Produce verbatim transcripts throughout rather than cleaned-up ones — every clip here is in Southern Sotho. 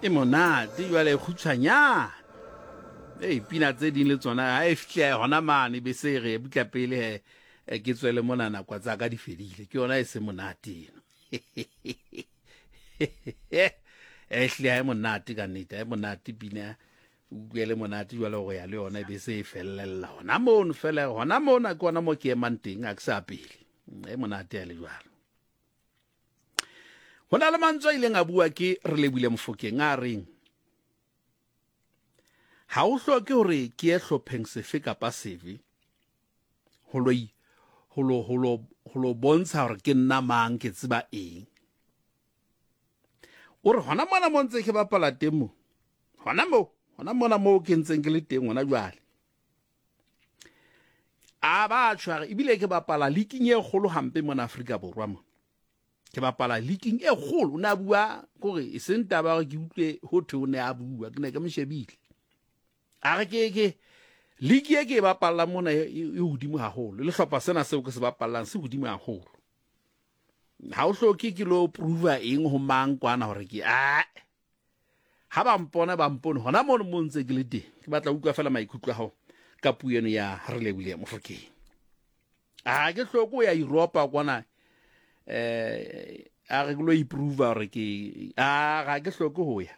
E monate jwale e kgutshwanyane. Ei, pina tse ding le tsona ha e fihle hona mane be se re butla pele he eh, ke tswele mona nako tsa ka di fedile. Ke yona e se monate eno. E hlile ha e monate ka nnete, ha e monate pina utlwe le monate jwale go ya le yona e be se e fellella hona mono fela hona mona ke hona mo ke emang teng a ke sa pele. E monate ya le jwalo. Ho na le mantswe a ileng a bua ke Relebohile Mofokeng a reng ha o hloke hore ke ye hlopheng sefe kapa sefe ho lo ho lo ho lo ho lo bontsha hore ke nna mang ke tseba eng. O re hona mona mo ntse ke bapala teng mo. Hona mo, hona mona mo ke ntseng ke le teng hona jwale. A ba tshware ebile ke bapala leaking e kgolo hampe mona Afrika Borwa mo. Ke bapala leaking e kgolo o ne a bua kore e seng taba hore ke utlwe ho thwe o ne a bua ke ne ke mo shebile. A re ke ke league e ke e bapallang mona e e hodimo haholo le hlopha sena seo ke se bapallang se hodimo haholo. Ha o hloke ke lo prova eng ho mang kwana hore ke a ha ba mpona ba mpone hona mono mo ntse ke le teng. Ke batla utlwa fela maikutlo a hao ka puo eno ya Relebohile Mofokeng. A ke hloke ho ya Europa kwana eh a re ke lo improve hore ke a ga ke hloke ho ya.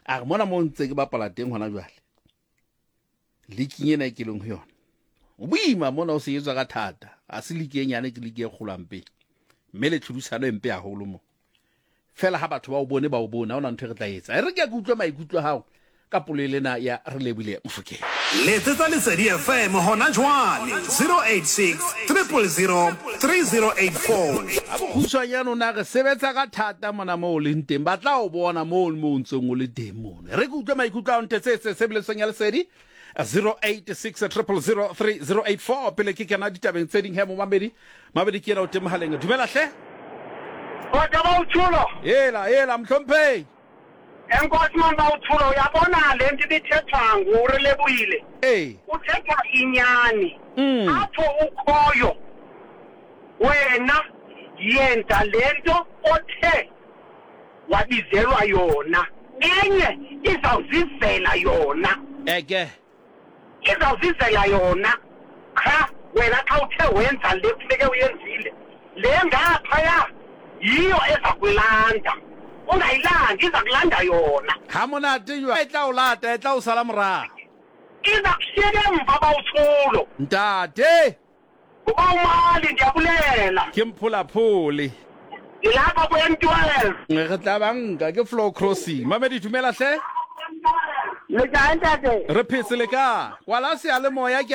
A re mona mo ntse ke bapala teng hona jwale. Leaking ena e ke leng ho yona. O boima mona o se etswa ka thata. A se league e nyane ke league e kgolo hampe. Mme le tlhodisano e mpe haholo mo. Fela ha batho ba o bone ba o bone ha ona ntho e re tla etsa. E re ke ke utlwe maikutlo a hao ka polelo ena ya Relebohile Mofokeng. Letsetsa Lesedi F M hona jwale zero eight six, triple zero, three zero eight four. Ha bokgutshwanyane o na re sebetsa ka thata mona moo o leng teng ba tla o bona moo mo o ntseng o le teng mono. E re ke utlwe maikutlo a hao ntetsetse tshebeletsong ya Lesedi zero eight six, triple zero, three zero eight four pele ke kena ditabeng tse ding he momamedi. Mamedi ke yena o teng mohaleng. Dumela hle. Kgotsa ba o tshulo. Ela ela mohlomphehi. Enkosi man ba o tshulo uyabona le nto ibithethwa nguRelebohile. Eh. Uthetha inyani. Mm. Apho ukhoyo wena yenza lento othe wabizelwa yona. Enye izawuzizela yona. Eke. Izawuzizela yona. Cha wena xa uthe wenza le kufuneke uyenzile. Le ngaphaya yiyo ezakulanda. Ungayilandi izakulanda yona. Ha monate jwa e tla o lata e tla o sala morao. Iza kushiyeka emva bawuthulo. Ntate. Uba umali ndiyabulela. Ke mpholaphole. Ngilapha ku M twelve. Re tla banka ke floor crossing. Mamedi dumela hle. Le kae ntate? Re phetse le ka. Kwala seyalemoya ke